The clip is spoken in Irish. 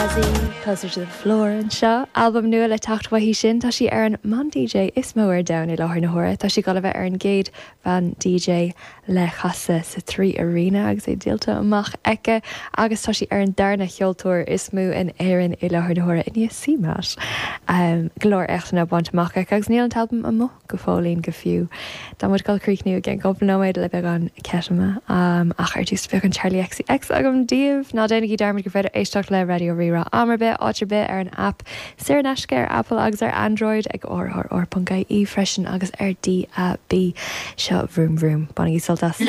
Bazzie, Closer to the Floor anseo. Albam nua le teacht uaithi sin. Tá sí ar an mban DJ is mó ar domhan i láthair na huaire. Tá sí ag dul a bheith ar an gcéad bhean DJ le casadh sa 3 Arena agus é díolta amach aici agus tá sí ar an darna cheoltóir is mó in Éirinn i láthair na huaire i ndiaidh CMAT. Go leor éachtanna bainte amach aici agus níl an t-albam amuigh go fóillín go fiú. Tá muid ag dul a chríochnú i gceann cúpla nóiméad le beagán Ketama ach ar dtús beagán Charli XCX agam daoibh. Ná déanaigí dearmad gur féidir éisteacht le Raidió Rí-Rá am ar bith, áit ar bith ar an aip saor in aisce ar Apple agus ar Android, ag rrr.ie freisin agus ar DAB. Seo Vroom Vroom. Bainigí sult as.